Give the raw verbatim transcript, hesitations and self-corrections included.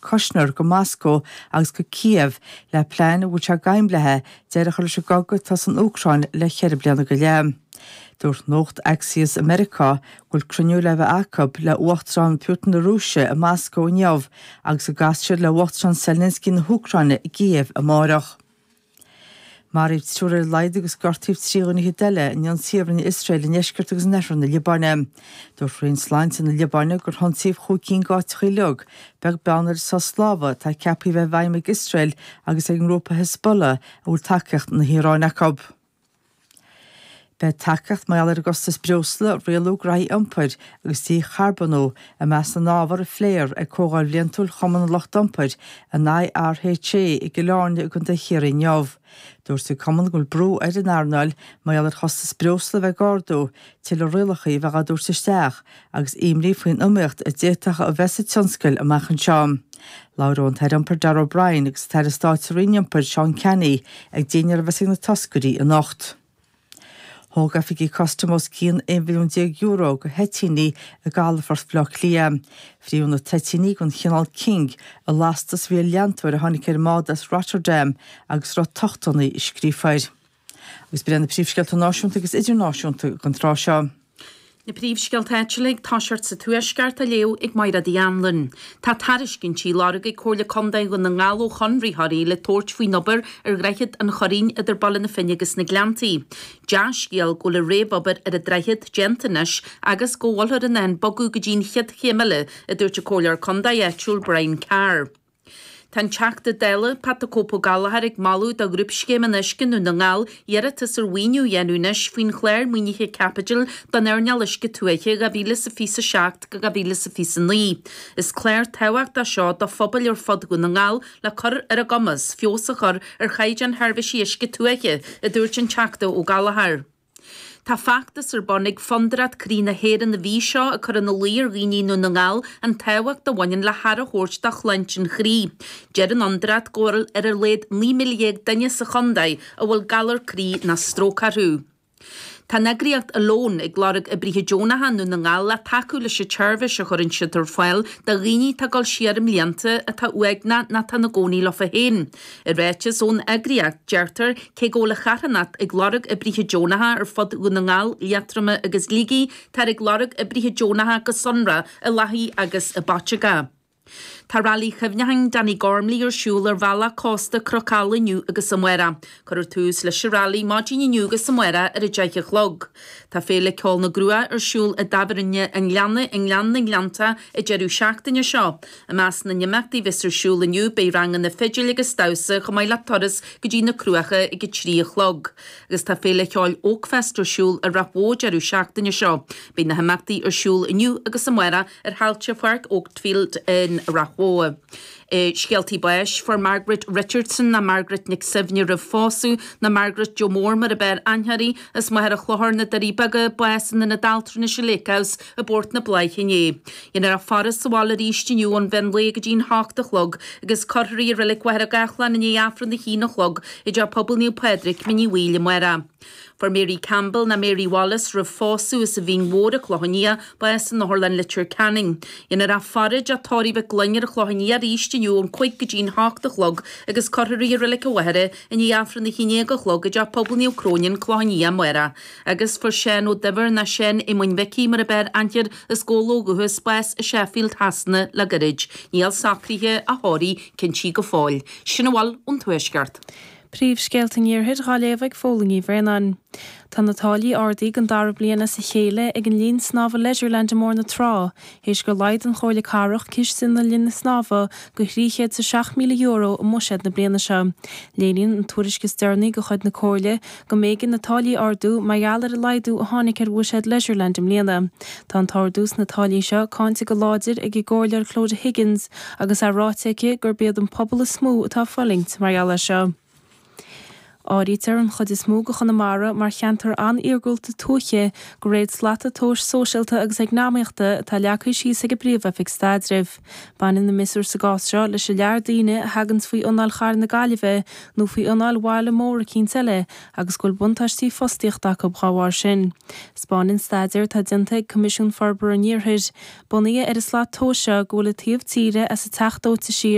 Kushner go Moscó agus go Kiev le plean a bhfuil sé ag aimlithe deireadh a chur leis an gcogadh atá san Úcráin le ceithre bliana go leith. Dúirt nuacht Axios i Meiriceá go bhfuil cruinniú le bheith acu le Uachtarán Putin na Rúise i Moscó inniu agus go gcasfaidh siad le Uachtarán Zelensky na hÚcráine i gCíév amárach. Maraíodh triúr ar a laghad agus gortaíodh trí dhuine eile in ionsaí a rinne Iosrael i ndeisceart agus in oirthear na Liobáine. Dúirt Roinn Sláinte na Liobáine gur hionsaíodh chúig cinn d'áiteacha uilig, beag beann ar an sos láimhe atá ceaptha a bheith i bhfeidhm ag Iosrael agus ag an ngrúpa Hezbollah a bhfuil tacaíocht na hIaráine acu. Beidh tacaíocht mar gheall ar an gcostas breosla, rialú gnaithí iompair agus dícharbónú i measc na n-ábhar a phléifear ag Comhdháil Bhliantúil Chumann an Lucht Iompair, an IRHA, i gCill Airne i gContae Chiarraí inniu. Dúirt an cumann go bhfuil brú ar an earnáil mar gheall ar chostas breosla a bheith ag ardú, tuilleadh rialacha a bheith á dtabhairt isteach agus imní faoin iomaíocht a d'fhéadfadh a bheith sa tionscal amach anseo. Labhróidh an tAire Iompair Darragh O'Brien agus an tAire Stáit sa Roinn Iompair Seán Canney ag dinnéar a bheas ag na toscairí anocht. Thóg oifigigh custaim os cionn aon mhilliún déag euro de thoitíní i gcalafort Bhaile Átha Cliath. Fríothadh na toitíní den chineál King i lastas a bhí ar leantóir a tháinig ar an mbád as Rotterdam agus a raibh tochtanna scríofa air. Agus b'in iad na príomhscéalta náisiúnta agus idirnáisiúnta don tráth seo. Na príomhscéalta áitiúla ag toiseacht sa Tuaisceart á léamh ag Máire Uí Anluain. Tá tairiscintí á lorg ag Comhairle Contae Dhún na nGall ó chonraitheoirí le tabhairt faoin obair ar Dhroichead an Churraoin idir Baile na Finne agus na Gleanntaí. Dea-scéal go bhfuil an réamhobair ar an droichead déanta anois agus go bhfuiltear in ann bogadh go dtí an chéad chéim eile, a dúirt an Comhairleoir Contae áitiúil Brian Carr. Tá an Teachta Dála, Pat the Cope Ó Gallchóir ag moladh do Ghrúpscéim an Uisce i nDún na nGall iarratas ar mhaoiniú a dhéanamh anois faoin chlár maoinithe caipitil don earnáil uisce tuaithe dhá mhíle is a fiche a seacht go dhá mhíle is a fiche a naoi. Is clár tábhachtach seo do phobail ar fud Dhún na nGall le cur ar a gcumas feabhas a chur ar chaighdeán sheirbhísí uisce tuaithe, a dúirt an Teachta Ó Gallchóir. Tá feachtas ar bun ag Fondúireacht Croí na hÉireann an mhí seo ag cur ina luí ar dhaoine i nDún na nGall an tábhacht a bhaineann le haire a thabhairt do shláinte an chroí. Deir an fhondúireacht go bhfuil ar a laghad naoi míle dhéag duine sa chontae a bhfuil galar croí nó stróc orthu. Tá an eagraíocht Alone ag lorg oibrithe deonacha i nDún na nGall le tacú leis an tseirbhís a chuireann siad ar fáil do dhaoine atá ag dul siar i mblianta, atá uaigneach nó atá ina gcónaí leofa féin. I ráiteas ón eagraíocht, deirtear cé go bhfuil an charthanacht ag lorg oibrithe deonacha ar fud Dhún na nGall, Liatroma agus Shligigh, táthar ag lorg oibrithe deonacha go sonrach i Lathaí agus i bPaiteagá. Tá Railí Chuimhneacháin Danny Gormley ar siúl ar bhealach cósta Chnoc Alla inniu agus amárach. Cuirfear tús leis an railí maidin inniu agus amárach ar a deich a chlog. Tá Féile Ceoil na gCruach ar siúl i dTábhairne an Ghleanna i nGleann na nGleanntach an deireadh seachtaine seo. I measc na n-imeachtaí a bheas ar siúl inniu beidh ranganna fidil agus damhsa chomh maith le turas go dtí na Cruacha ag a trí a chlog. Agus tá Féile Cheoil Oakfest ar siúl i Ráth Bhoth an deireadh seachtaine seo. Beidh na himeachtaí ar siúl inniu agus amárach ar thailte Pháirc Oakfield in Ráth Bhoth. Scéaltaí báis, Fuair Margaret Richardson nó Margaret Nic Suibhne roimh phósadh, nó Margaret Joe Mór mar ab fhearr aithne uirthi, as Machaire Chlochair, na Doirí Beaga, bás in Ionad Altranais an Lake House i bPort na Bláiche inné. Dhéanfar a faire sa bhaile arís inniu ón mheán lae go dtí an hocht a chlog agus cuirfear í i Reilig Mhachaire Gathlán i ndiaidh Aifreann a haon a chlog i dTeach Pobail Naomh Pádraig, Mín Uí Bhaoill amárach. Fuair Mary Campbell, nó Mary Wallace, roimh phósadh as an Mhín Mhór, an Clochán Liath, bás in Otharlann Leitir Ceanainn. Dhéanfar a faire i dTeach Tórraimh Mhic Gloinn ar an Chlochán Liath arís inniu ón cúig go dtí'n hocht a chlog agus cuirfear í i Reilig an Mhachaire i ndiaidh Aifreann a haon déag a chlog i dTeach Pobail Naomh Cróinín, Clochán Liath, amárach. Agus fuair Seán Ó Duibhir, nó Seán Éamoinn Mhicí mar ab fhearr aithne air, as Gabhla ó dhúchas, bás i Sheffield Shasana le gairid. Níl socruithe a thórraimh cinntí go fóill. Sin a bhfuil ón Tuaisceart. Príomhscéalta an Iarthair dhá léamh ag Fódhla Ní Bhraonáin. Tá na táillí ardaithe don dara bliain as a chéile ag an linn snámha Leisureland i mBóthar na Trá, théis gur laghdaigh an Chomhairle Cathrach ciste na linne snámha go thrí chéad is a seacht míle euro i mbuiséad na bliana seo. Léiríonn an tuairisc is deireanaí de chuid na Comhairle go mb'éigean na táillí a ardú mar gheall ar an laghdú a tháinig ar bhuiséad Leisureland i mbliana. Tá an t-ardú sna táillí seo cáinte go láidir ag an gComhairleoir Clodagh Higgins agus é ráite aici gurb iad an pobal is mó atá ag fulaingt mar gheall air seo. Áirítear an chuid is mó de Chonamara mar cheantar an-iargúlta tuaithe de réir slata tomhais sóisialta agus eacnamaíochta atá leagtha síos ag an bPríomh-Oifig Staidrimh. Baineann na miosúir sa gcás seo leis an lear daoine a thaganns faoi anáil chathair na Gaillimhe nó faoi anáil bhaile mór eicínt eile agus go bhfuil buntáistí fostaíochta acu dá bharr sin. 'Spáineann staidéar atá déanta ag Coimisiún Forbartha an Iarthair, bunaithe ar an slat tomhais seo go bhfuil an taobh tíre as an teach dóite siar